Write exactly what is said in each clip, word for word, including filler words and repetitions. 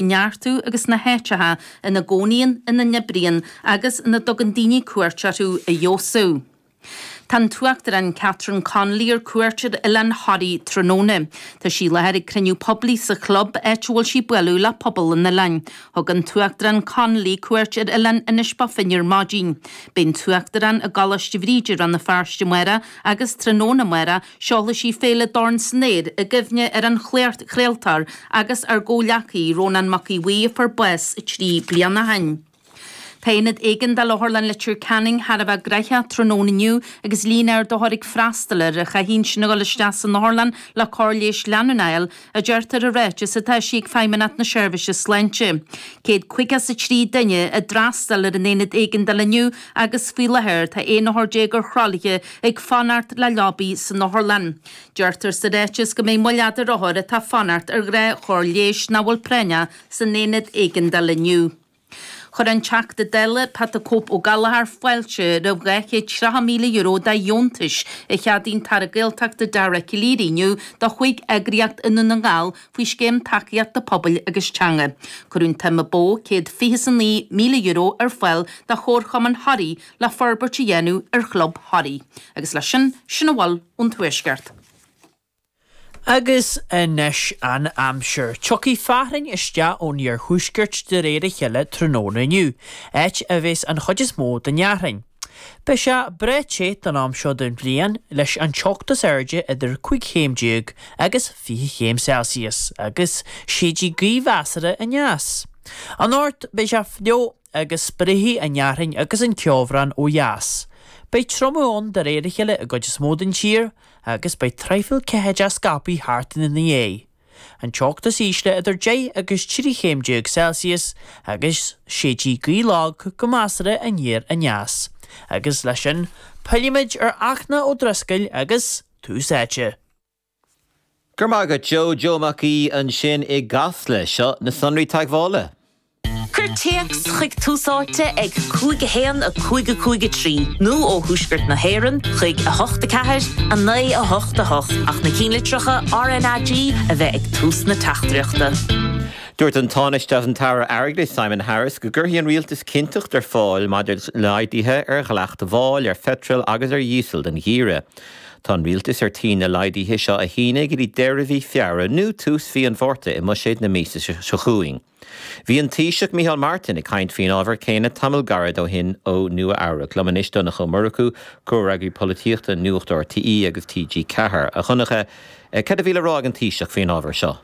neartú agus na háiteacha ina gcónaíonn, ina n-oibríonn agus ina dtugann daoine cuairt orthu a fheabhsú. Tá an tUachtarán Catherine Connolly ar cuairt ar Oileán Thoraí tráthnóna. Tá sí i láthair ag cruinniú poiblí sa chlub áit a bhfuil sí ag bualadh le pobal an oileáin. Thug an tUachtarán Connolly cuairt ar Oileán Inis Bó Finne ar maidin. Beidh an tUachtarán i gColáiste Bhríde i Rann na Feirste amárach agus tráthnóna amárach seolfaidh sí Féile Dorn san Aer i gcuimhne ar an chraoltóir agus ár gcomhghleacaí Rónán Mac Aodha Bhuí a fuair bás trí bliana ó shin. Tá Aonad Éigeandála Otharlann Leitir Ceanainn thar a bheith gnoitheach tráthnóna inniu agus líon ard othar ag freastal air a chaithfidh ansin a dhul isteach san otharlann le cóir leighis leanúnach a fháil, a deirtear i ráiteas atá eisithe ag Feidhmeannacht na Seirbhíse Sláinte. Céad caoga is a trí duine a d'fhreastail ar an aonad éigeandála inniu agus faoi láthair tá aon othar déag ar thralaithe ag fanacht le leabaí san otharlann. Deirtear sa ráiteas go mbeidh moill fhada ar othair atá ag fanacht ar ghnáthchóir leighis nach bhfuil práinneach san aonad éigeandála inniu. Chuir an Teachta Dála Pat 'the Cope' Ó Gallchóir fáilte roimh dhá chéad tríocha míle euro de dheontais a cheadaigh an tAire Gaeltachta Dara Calleary inniu do chúig eagraíocht i nDún na nGall faoi Scéim Tacaíochta Pobail agus Teanga. Cuireadh an tsuim a ba mhó, céad fiche is a naoi míle euro ar fáil do Chomharchumann Thoraí le forbairt a dhéanamh ar Chlub Thoraí. Agus leis sin, sin a bhfuil ón Tuaisceart. Agus anois an aimsir. Tiocfaidh fearthainn isteach ón iarthuaisceart de réir a chéile tráthnóna inniu, áit a bheas an chuid is mó den fhearthainn. Beidh sé breá te don am seo den bhliain, leis an teocht is airde idir cúig chéim déag agus fiche chéim Celsius, agus séidfidh gaoth mheasartha aneas. Anocht beidh sé fliuch agus spréifidh an fhearthainn agus an ceobhrán ó dheas. Beidh triomú ann de réir a chéile i gcuid is mó den tír agus beidh traidhfil ceathaideach scaipthe thart ina ndiaidh. An teocht is ísle idir deich agus trí chéim déag Celsius agus séidfidh gaoth lag go measartha aniar aneas. Agus leis sin, pillfimid ar Fhachtna Ó Drisceoil agus Tús Áite. Go raibh maith agat Joe Joe Mac Aoidh ansin i gCasla. Seo na sonraí teagmhála. Cuir téacs chuig Tús Áite ag cúig a haon a cúig a cúig a trí nó ó Thuaisceart na hÉireann chuig a hocht a ceathair a naoi a hocht a hocht ach na cinnlitreacha RnaG a bheith ag tús na teachtaireachta. Dúirt an Tánaiste agus an tAire Airgeadais Simon Harris go gcuirfidh an rialtas cinnteacht ar fáil maidir le laghduithe ar dhleacht mháil, ar pheitreal agus ar dhíosal don gheimhreadh. Tá an rialtas ar tí na laghduithe seo a shíneadh go dtí deireadh mhí Feabhra nó tús mhí an Mhárta i mbuiséad na míosa seo chugainn. Bhí an Taoiseach Micheál Martin ag caint faoin ábhar céanna tamall gairid ó shin ó Nua Eabhrac. Liom anois Donncha Ó Murchú, comhfhreagraí polaitíochta Nuacht RTÉ agus TG Ceathair. A Dhonncha, cad a bhí le rá ag an Taoiseach faoin ábhar seo?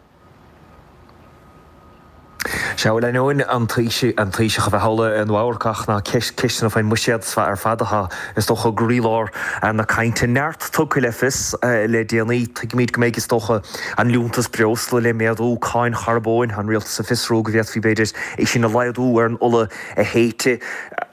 Sea, bhuel ainneoin an Taoiseach a bheith thall i Nua Eabhrac ach na ceisteanna faoin mbuiséad ar fad atá is dócha i gcroílár na cainte. Neart tugtha le fios le déanaí. Tuigimid go mbeidh is dócha an liúntas breosla le méadú, cáin charbóin, an rialtas ag fiosrú go bhféadfaí b'fhéidir é sin a laghdú ar an ola théite.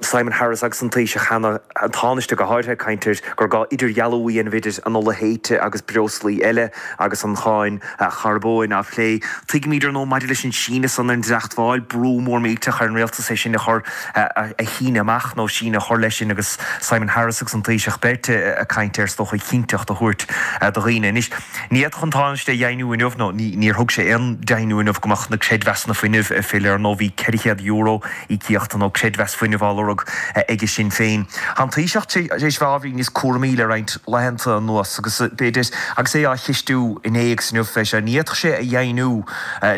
Simon Harris agus an Taoiseach cheana, an Tánaiste go háirithe, ag caint ar gur gá idirdhealú a dhéanamh idir an ola théite agus breoslaí eile agus an cháin charbóin á phlé. Tuigimid ar ndóigh maidir leis an síneadh san ar an dleacht mháil, brú mór millteach ar an rialtas é sin a chur a shíneadh amach nó síneadh a chur leis sin agus Simon Harris agus an Taoiseach beirt ag caint ar is dócha cinnteacht a thabhairt do dhaoine. Anois, ní fhéadfadh an Tánaiste a dheimhniú inniu nó níor thug sé aon deimhniú inniu go mbeadh na creidmheasanna fuinnimh ag filleadh. Ar ndóigh bhí ceithre chéad euro íocaíochta nó creidmheas fuinnimh á lorg aige Sinn Féin. Tá an Taoiseach tar éis bheith ábhairín níos cúramaí le roinnt laethanta anuas agus b'fhéidir agus é á cheistiú inné agus inniu fé seo, ní fhéadfadh sé a dheimhniú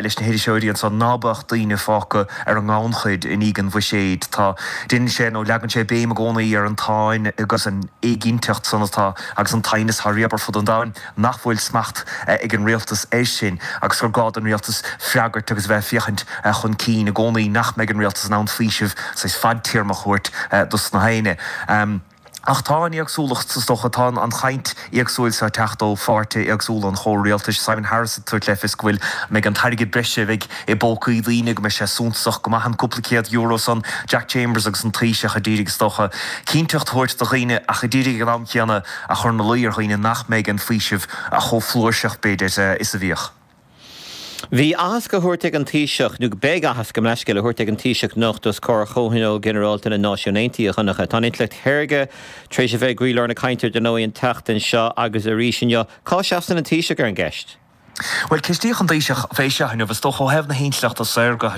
leis na hiriseoirí anso ná beadh daoine fágtha ar an ngannchuid i ndiaidh an bhuiséid. Tá, déanann sé nó leagann sé béim i gcónaí ar an tsáinn agus an éiginnteacht san atá agus an t-aighneas atá riamh ar fud an domhain nach bhfuil smacht ag an rialtas air sin agus gur gá don rialtas freagairt agus a bheith ag féachaint chun cinn i gcónaí nach mbeidh an rialtas in ann faoiseamh saghas fadtéarmach a thabhairt dos na héinne. Ach tá an éagsúlacht, is dócha, tá an chaint éagsúil seo ag teacht ó pháirtithe éagsúla an chomhrialtais. Simon Harris ag tabhairt le fios go bhfuil, mbeidh an t-airgead breise a bheidh i bpócaí daoine, go mbeidh sé suntasach go maith, an cúpla céad euro san. Jack Chambers agus an Taoiseach a d'iarraidh, is dócha, cinnteacht a thabhairt do dhaoine ach a d'iarraidh ag an am chéanna a chur ina luí ar dhaoine nach mbeidh an faoiseamh chomh flúirseach, b'fhéidir, is a bhíodh. Bhí aitheasc á thabhairt ag an Taoiseach, nó beidh aitheasc, gabh mo leithscéal, á thabhairt ag an Taoiseach anocht os comhair Chomhthionól Ginearálta na Náisiún Aontaithe, a Dhonncha. Tá an intleacht shaorga tar éis a bheith i gcroílár na cainte, ar ndóigh, an tseachtain seo agus arís inniu. Cá seasann an Taoiseach ar an gceist? Bhuel, ceistíodh an Taoiseach fé seo inniu, is dócha ó thaobh na hintleachta saorga.